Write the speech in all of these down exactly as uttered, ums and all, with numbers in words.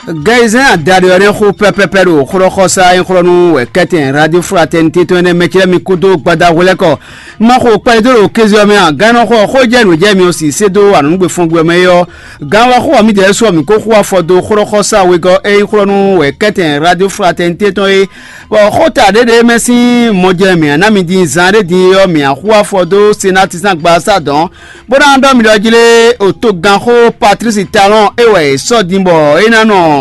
Gɛyizɛn adaɖé ɔ́ nɛ́ xo pɛpɛpɛ ɖo xlɔ́xɔsá e xlɔ́ nú wɛ kɛ́tɛn Radio Fraternité tɔn énɛ́ mɛ ce lɛ́ɛ mi kúdó gbada hwelɛ́kɔ. Ma xo kpɛɖé dó ɖo kéze ɔ́ mɛ a? Gannɔxɔ ɔ́, xó jɛ nǔ jɛ mi ɔ́ sì sé dó anɔ̌nugbe fɔngbe ɔ́ mɛ é ɔ́, gan wá xó ɔ́, mǐdɛɛ su ɔ́, mǐ ko xo afɔ dó xlɔ́xɔsá wegɔ́ e nyí xlɔ́ nú wɛ kɛ́tɛn Radio Fraternité tɔn é, bɔ xó ta ɖěɖě mɛ sín mɔjɛ mǐ ná mi din zan ɖé din é ɔ́, mǐ ná xo afɔ dó Senati sín agbaza dɔn, bó ná ɖɔ mi ɖɔ jí lé, otoganxó Patlísi Talɔ́n é wɛ è sɔ́ din bɔ é ná nɔ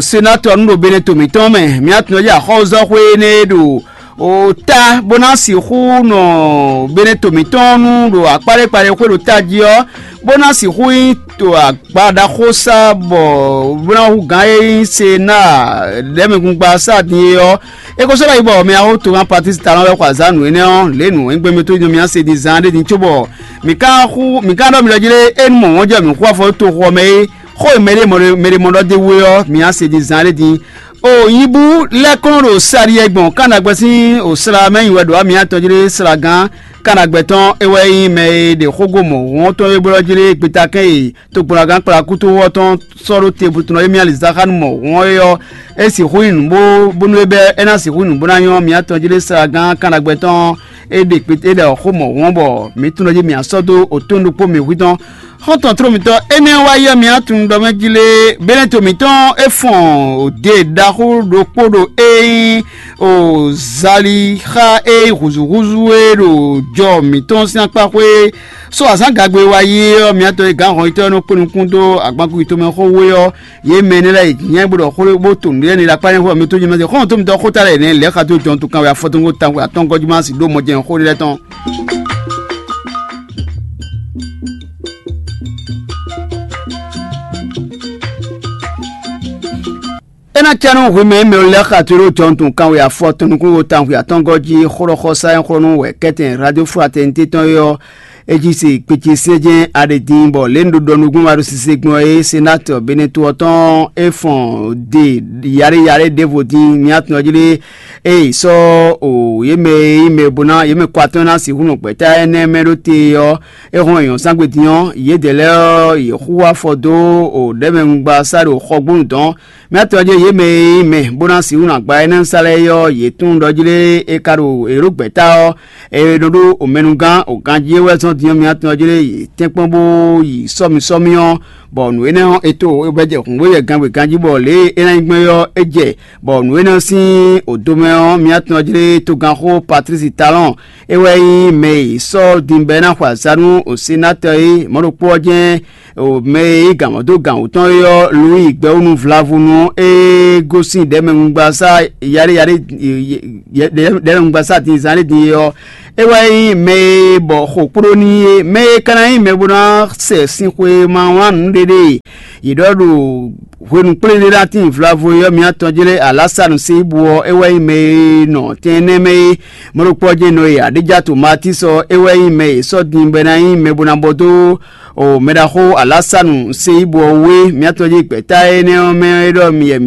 senatɔ́ nú ɖo Beneto mǐtɔn mɛ. Mǐ ná tunwun jí axɔ́zɔ́xwé énɛ́ e ɖo o ta bó ná sixú nɔ Beneto mǐtɔn nú ɖo akpáɖékpaɖé xwé ɖo tají ɔ́, bó ná sixú nyí to agba ɖaxó sá bɔ bó ná hú gǎn e nyí Sena ɖɛ̌mɛgungba sá din é ɔ́, é ko sɔ́ ɖɔ yi bɔ mɛ awo togán Patlísi Talɔ́n wɛ xɔ azǎn nǔ énɛ́ ɔ́, lě nǔ e gbɛmɛ tó nyɔ mǐ ná se din zaan ɖé din cóbɔ mǐ ka xú mǐ ka ɖɔ mi ɖɔ jí lé, é nú mɔ̌ wɔn jɛ mǐ xú afɔ dó toxo ɔ́ mɛ é, xó e mɛɖé mɔ mɛɖé mɔ ɖɔ d'é wú é ɔ́, mǐ ná se din zaan ɖé din. O nyibú lɛ́ kɔn ɖo Saliyɛ gbɔn Kanagbɛ sín o sla mɛ nyi wɛ ɖo amǐ atɔn jí lé, slagán Kanagbɛ tɔn é wɛ nyí mɛ e ɖe xógó mɔ̌ wɔn tɔn é blɔ́ jí lé, gbetakɛ́n e togblɔ́gán kplakútúwɔ́ tɔn sɔ́ ɖó te butɔnɔ émí alizáxánu mɔ̌ wɔn é ɔ́, é sixú nyí nǔ bó bónú é bɛ́ é ná sixú nyí nǔ bó ná nyɔ́ mǐ atɔn jí lé, slagán Kanagbɛ tɔn é ɖe kpete é ɖɔ xó mɔ̌ wɔn bɔ mǐ tunwun jí mǐ asɔ́ dó otɔn ɖokpó mǐ hwí tɔn. Xɔ́ntɔn tló mǐtɔn énɛ́ wá yí ɔ́, mǐ atun ɖɔ mɛ jí lé, bɛ́nɛ́ to mǐtɔn é fɔn òde ɖaxó ɖokpó ɖo é nyí o zali xá é húzúhúzú e ɖo jɔ mǐtɔn sín akpá xwé. So azǎn gagbe wa yí ɔ́, mǐ atɔn e gǎn hɔn yitɔ́ e nɔ kpé nukún dó agbankúyi tomɛ xó wé ɔ́, yě mɛ énɛ́ lɛ́ɛ nyɛ bó ɖɔ xó bó to nǔɖé énɛ́ ɖo akpá nyɛ xó mɛ tó jɛ mɛ xɔ́ntɔn mǐtɔn xó ta lɛ́ nɛ́ lɛ̌ xa dó jɔntu kanwe afɔtɔ́ngo tanwe atɔ́ngɔ́ jí má si ɖó mɔjɛ́n xó ɖé lɛ́ɛ tɔn. É ná cá nú hwemɛ e mɛ lɛ́ɛ xa tlóló jɔntun kanwe afɔ tɔn nukúnwo tawun atɔ́ngɔ́ jí xlɔ́xɔ́sá e xlɔ́ nú wɛ kɛ́tɛn Radio Fraternité tɔn é ɔ́, é jí se kpecesɛ́jɛ́n aɖe din bɔ lě un ɖo ɖɔ nukún ma ɖo sise gbɔn é, senatɔ Beneto ɔ́ tɔn é fɔn de yaɖé yaɖé ɖěvo din mǐ atɔn jí lé. Ée sɔ́ o yě mɛ e nyí mɛ bo ná yě mɛ kɔ atɔn ná sixú nɔ gbɛ̌ta énɛ́ mɛ ɖó te ɔ́, é hɔn nyɔ̌sángbé din ɔ́, yědɛɛ lɛ́ɛ ɔ́, yě xú afɔ dó o ɖɛ̌mɛnugba sá ɖo xɔgbónu dɔn. Mɛ atɔn jɛ́n yě mɛ e nyí mɛ bó ná sixú nɔ agba énɛ́ sa lɛ́ɛ é ɔ́, yě tunwun ɖɔ jí lé é ka ɖo è ɖó gbɛ̌ta ɔ́, è nɔ ɖó omɛnugán o ganjí é wɛ zɔ́n din ɔ́, mɛ atɔn jí lé yě tɛ́nkpɔ́n bó yi sɔ́mi sɔ́mi ɔ́, bɔ nǔ énɛ́ ɔ́, è to é bɛ́ jɛ hǔngbó yɛ gangbé ganjí bɔ lě e é ná nyí gbɔn é ɔ́, é jɛ, bɔ nǔ énɛ́ ɔ́ sín odomɛ ɔ́, mɛ atɔn jí lé togánxó Patlísi Talɔ́n, é wɛ nyí mɛ e è sɔ́ din bɔ é ná xɔ azǎn nú senatɔ é, mɔ̌ ɖokpó ɔ́ jɛ́n mɛ e yí gǎn mɔ dó gǎn wú tɔn é ɔ́, Luwíi gbɛwúnu Vlavunu é gosín ɖɛ̌mɛnugbaza yaɖé yaɖé ɖɛ̌mɛnugbaza din zán ɖé din é ɔ́, é wɛ nyí mɛ e bɔ xo kpló n'i é. Mɛ e ka ná nyí mɛ bó ná sɛ sinxwemawlán nǔɖéɖé e yě ɖɔ ɖo hwenu kplé ɖé ná tíin vlavo é ɔ́, mǐ atɔn jlé Alásanu Seibu ɔ́, é wɛ nyí mɛ e nɔ tɛn énɛ́ mɛ é. Mɔ̌ ɖokpó ɔ́ jɛ́n nɔ e Aɖéjatu Matísi ɔ́, é wɛ nyí mɛ e è sɔ́ din bɔ é ná nyí mɛ bó ná bɔ dó o mɛɖaxó Alásanu Seibu ɔ́ wú é. Mǐ atɔn jí gbɛ̌ta énɛ́ ɔ́ mɛ é ɖɔ mi yɛ